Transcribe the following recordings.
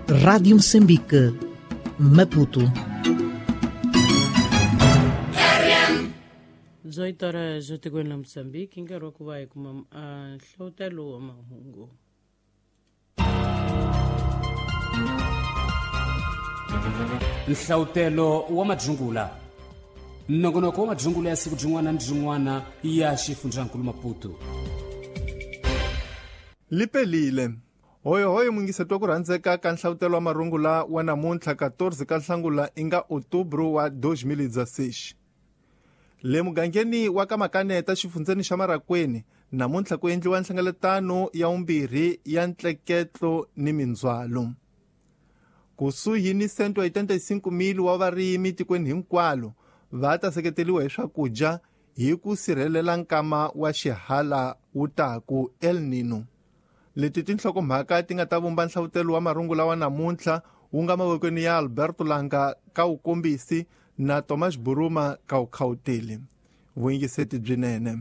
Rádio Moçambique, Maputo. 18 horas etikweni la Mozambique hi nkarhi wa ku va hi kuma nhlawutelo wa mahungu. Nhlawutelo wa madzungula, nongonoko wa madzungula ya siku byin'wana ni byin'wana ya xifundzankulu Maputo. Lipelile hoyohoyo mungiseto wa ku rhandzeka ka nhlavutelo wa marungula wa namuntlha 14 ka Nhlangula inga Outubro wa 2016. Le mugangeni wa ka Makaneta xifundzeni xa Marakweni namuntlha ku endliwa nhlengeletano ya vumbirhi ya ntleketlo ni mindzhwalo. Kusuhi ni 185,000 wa varimi tikweni hinkwalo va ta seketeriwa hi swakudya hi ku sirhelela nkama wa xihala wu taku El Nino. Leti tinhlokomhaka ti nga ta vumba nhlavutelo wa marungula wa namuntlha wu nga mavokweni ya Alberto Langa ka wukombisi na Thomas Buruma ka wukhawuteli. Vuyingiseti byinene.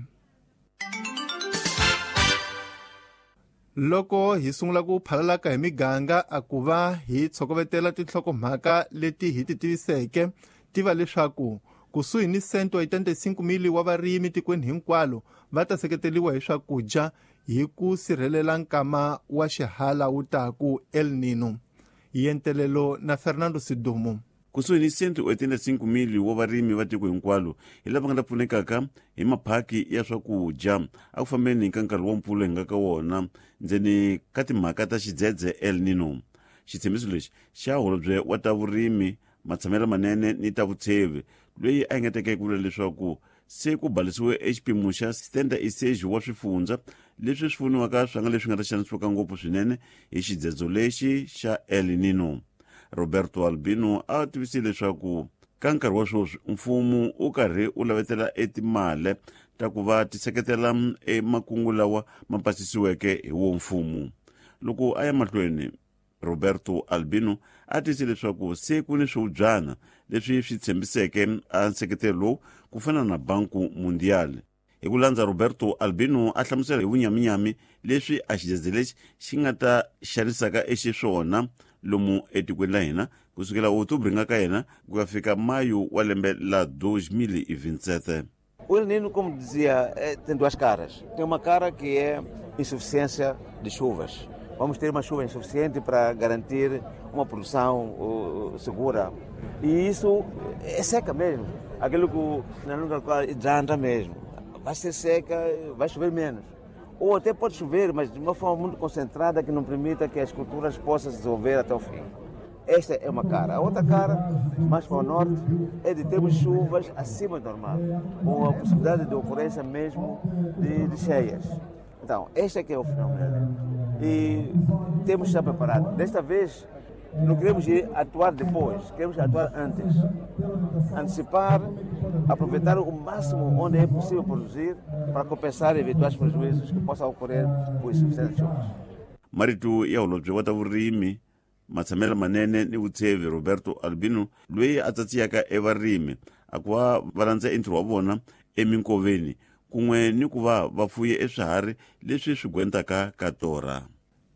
Loko hi sungula ku phalalaka hi miganga a ku va hi tshokovetela tinhlokomhaka leti hi ti tiviseke tiva leswaku kusuhi ni 185,000 wa varimi tikweni hinkwalo va ta seketeriwa hi swakudya hi ku sirhelela nkama wa xihala wu taku El Nino. Yentelelo na Fernando Sidumo. Kusuhi ni 185,000 wa varimi va tiko hinkwalo hi lava nga ta pfunekaka hi maphaki ya swakudya a ku fambeni ka nkarhi wa mpfula hi nga ka wona ndzeni ka timhaka ta xidzedze El Nino. Xitshembiso lexi xa holobye wa ta vurimi, matshamelo manene ni ta vutshevi, loyi a engeteke ku vula leswaku se ku balisiwe exipimo xa 76 wa swifundza leswi swi voniwaka swa nga leswi nga ta xanisiwaka ngopfu swinene hi xidzedzo lexi xa El Nino. Roberto Albino a tivisile leswaku ka nkarhi wa sweswi mfumo wu karhi wu lavetela etimale ta ku va ti seketela emakungu lawa ma pasisiweke hi wo mfumo. Loko a ya mahlweni, Roberto Albino a tiyise leswaku se ku ni swihubyana leswi swi tshembiseke a nseketelo lowu ku fana na Banku Mundial. Hi ku landza Roberto Albino a hlamusela hi vunyaminyami leswi a xidzedze lexi xi nga ta xanisaka exiswona lomu etikweni la hina kusukela Outubro nga ka yena ku ya fika Mayu wa lembe la 2027. O El Nino, como dizia, tem duas caras. Tem uma cara que é insuficiência de chuvas. Vamos ter uma chuva insuficiente para garantir uma produção segura. E isso é seca mesmo. Aquilo que na língua hidrata mesmo. Vai ser seca, vai chover menos. Ou até pode chover, mas de uma forma muito concentrada que não permita que as culturas possam se desenvolver até o fim. Esta é uma cara. A outra cara, mais para o norte, é de termos chuvas acima do normal, com a possibilidade de ocorrência mesmo de cheias. Então, este é que é o fenômeno. E temos que estar preparados. Desta vez, não queremos ir atuar depois, queremos atuar antes. Antecipar, aproveitar o máximo onde é possível produzir para compensar eventuais prejuízos que possam ocorrer por insuficiência de chuvas. Marito ya holobye wa ta vurimi, matshamelo manene ni vutshevi Roberto Albino, loyi a tsatsiyaka evarimi a ku va va landza entirho wa vona eminkoveni kun'we ni ku va va fuye eswiharhi leswi swi gwentaka ka torha.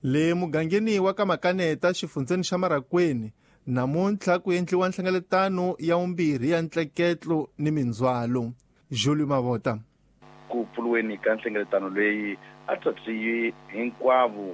Le mugangeni wa ka Makaneta xifundzeni xa Marakweni namuntlha ku endliwa nhlengeletano ya vumbirhi ya ntleketlo ni mindzhwalo. Julio Mavota. Ku pfuriweni ka nhlengeletano leyi a tsatsiyi hinkwavo